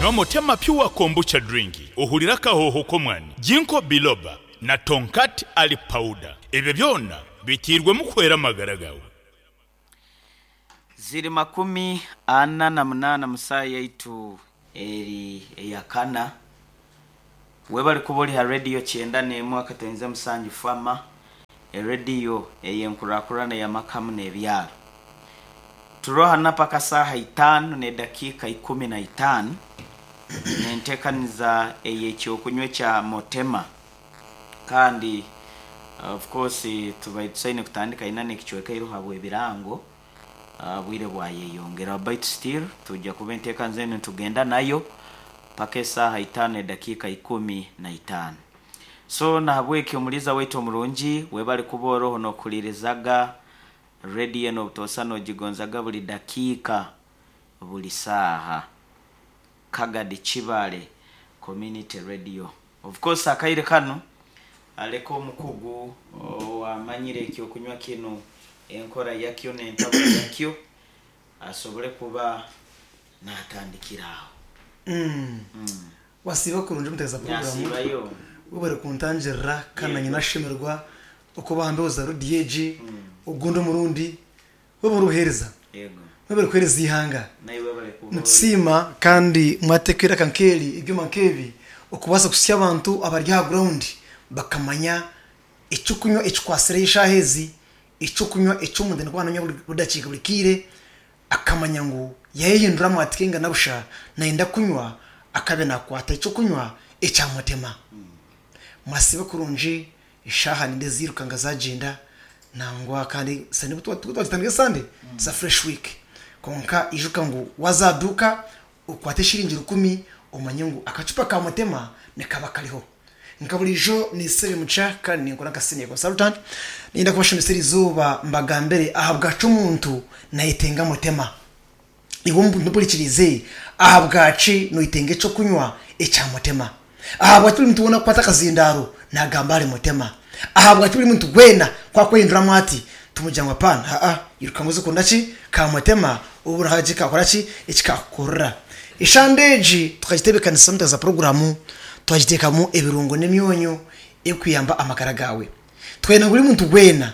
Nywa Motema Pure Kombucha Drink ohurire akahooho k'omwani, Ginkgo Biloba na Tongkat Ali Powder. Ebyo byona biteirwemu kuhwera amagara gaawe. Ziri 48 mu saaha yaitu eri eya kana. Webale kuba ori ha rediyo 91.7 Fama, erediyo ey'enkurakurana ey'amaka hamu n'ebyaro. Turi hanu paka saaha itaano n'edakiika 15 n'enteekaniza ey'ekyokunywa ekya Motema. Kandi of course tubaire tusaine kutandika ina n'ekicweka iroho habw'ebirango, Obwire bwayeyongera baitu still twija kuba enteekaniza enu nitugenda nayo paka esaaha itaano n'edakiika 15. So nahabweki omuliiza waitu omurungi webale kuba oroho n'okuhulirizaga radio enu obutoosa n'ogigonzaga buli dakiika buli saaha. Kagadi Kibale Community Radio. Of course akaire kanu aleke omukugu owamanyire ekyokunywa kinu enkora yakyo n'entabura yakyo asobole kuba natandikira aho. Wasiiba kurungi omuteekateesa puroguraamu. Nasiibayo. Webare kuntangirira kandi nanye Yego. nashemererwa okuba aha mbeho za rediyo egi ogundi omurundi. Webare obuheereza. Yego. Mwebare kuheereza eihanga. Naiwe webare kuba ori. Nitusiima kandi mwateeka eiraka nk'eri, ebyoma nk'ebi okubaasa kuhitsya abantu abari aha ground bakamanya eky'okunywa ekikwatsireho eshaaha ezi, eky'okunywa eki omuntu aine kuba nanywa buri dakiika buri kaire akamanya ngu yayehinduramu ati kainga na busha nayenda kunywa akabe nakwata eky'okunywa ekyamutema. Mwasiiba kurungi Eshaaha nindeeba ziiruka nga zaagyenda nangwa kandi sande obu twagitandika esande it's a fresh week kwonka ijuka ngu waaza aha duuka okwate eshiringi rukumi omanye ngu akacupa ka mutema nikaba kariho. Nka buriijo ninsebe muca kandi ninkora nka senior consultant niinyenda kubashomesa erizooba mbagambire ahabwaki omuntu nayetenga mutema. Iwe omuntu ompurikiriize, ahabwaki noyetenga eky'okunywa ekya mutema? Ahabwaki buri muntu weena akukwata akazindaaro naagamba ahari mutema? Ahabwaki buri muntu weena ku akwehinduramu ati, tumugira ngu apaana, haa, iruka ngu oze kunda ki? Ka mutema, obu hariho eki kaakora ki? Eki kaakukorera. Eshande egi tukagitebeekanisa omu za puroguraamu, twagiteekamu ebirungo n'emyonyo erikuyamba amagara gaawe. Twenda ngu buri muntu weena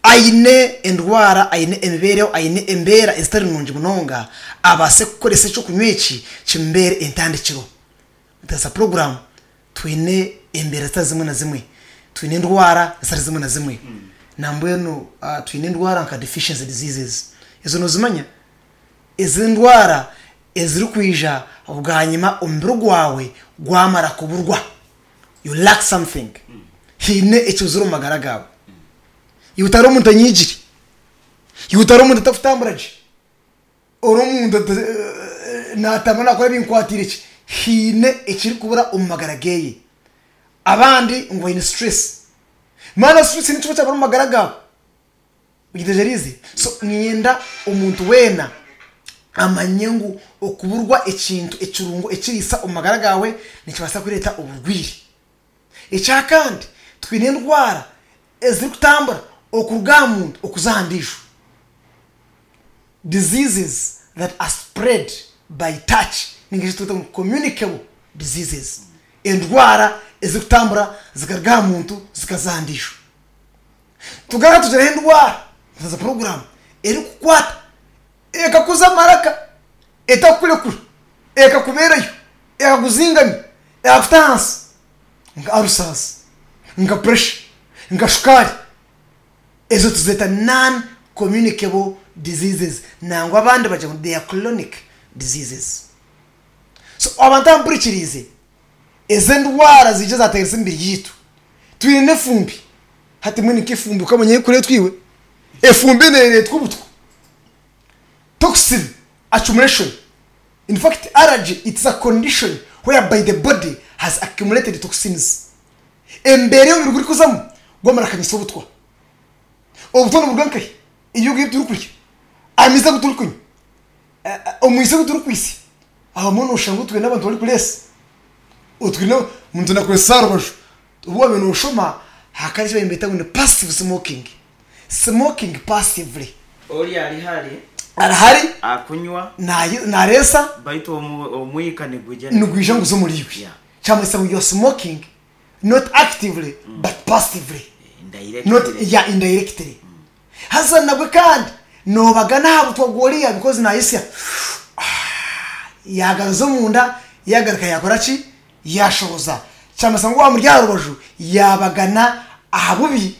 aine endwara, aine emibeereho, aine embeera ezitari nungi munonga, abaase kukoresa eky'okunywa eki kimubeere entandikiro. Nitukozesa puroguraamu, twine embeera zitari zimwe na zimwe, twine endwara zitari zimwe na zimwe. Nambwenu twine endwara nka deficiency diseases, ezo noozimanya? Ezi endwara ezirikwija bwanyima omubiri gwawe gwamara kuburwa, you lack something, haine ekibuzire omu magara gaawe. Iwe otari omuntu anyiigire, iwe otari omuntu atarikutambura gye, ori omuntu naatambura naakora ebinkwatiire ki, haine ekirikubura omu magara geeye. Abandi ngu baine stress. Maana stress nikyo kyabura omu magara gaawe. Ogitegyereize? So niinyenda omuntu weena amanye ngu okuburwa ekintu ekirungo ekiriisa omu magara gaawe nikibaasa kureeta oburwaire. Ekyakandi, twine endwara ezirikutambura okuruga aha muntu okuza aha ndiijo, diseases that are spread by touch ninga shi twete ngu communicable diseases, endwara ezirikutambura zikaruga aha muntu zikaza aha ndiijo. Tugaruka tugireho endwara nka puroguraamu erikukwata ekakuza amaraka etakukurekura ekakubeerayo ekakuzingamya ekakuta ahansi nka alusazi nka puresha nka shukaari ezo tuzeeta non communicable diseases nangwa abandi bagira ngu they are chronic diseases so abantu abampurikiriize Ezi endwara ziija zateganisa emibiri yaitu. Twine n'efumbi. Hati mbwenu nk'efumbi okamanya ahu erikureetwa iwe? Efumbi neereetwa obutwa. Toxin accumulation. In fact allergy it's a condition whereby the body has accumulated toxins. Embeera ei omubiri gurikuzamu gwamara kukanyisa obutwa. Obutwa niburuga nkahi? Ebyokurya ebi turikurya, amaizi agu turikunywa, omwitsyo ogu turikwitsya. Abamwe noshanga otwire n'abantu barikureesa, otwire omuntu nakureesa aha rubaju. Obu wabaire noshoma hakaba hariho eki nibeeta ngu ni passive smoking, smoking passively. Ori ari hare. Arahari Akunywa. Nareesa. Baitu omwika nigwija. Nigwija nguza omuri iwe. Kyamanyisa ngu you are smoking not actively but passively. Not yeah indirectly. Haza nabwe kandi nobagana aha butwa bw'oriya because nayitsya yagaruza omunda yagaruka yakora ki? Yashohoza. Kyamanyisa ngu owamuri aha rubaju yabagana aha bubi.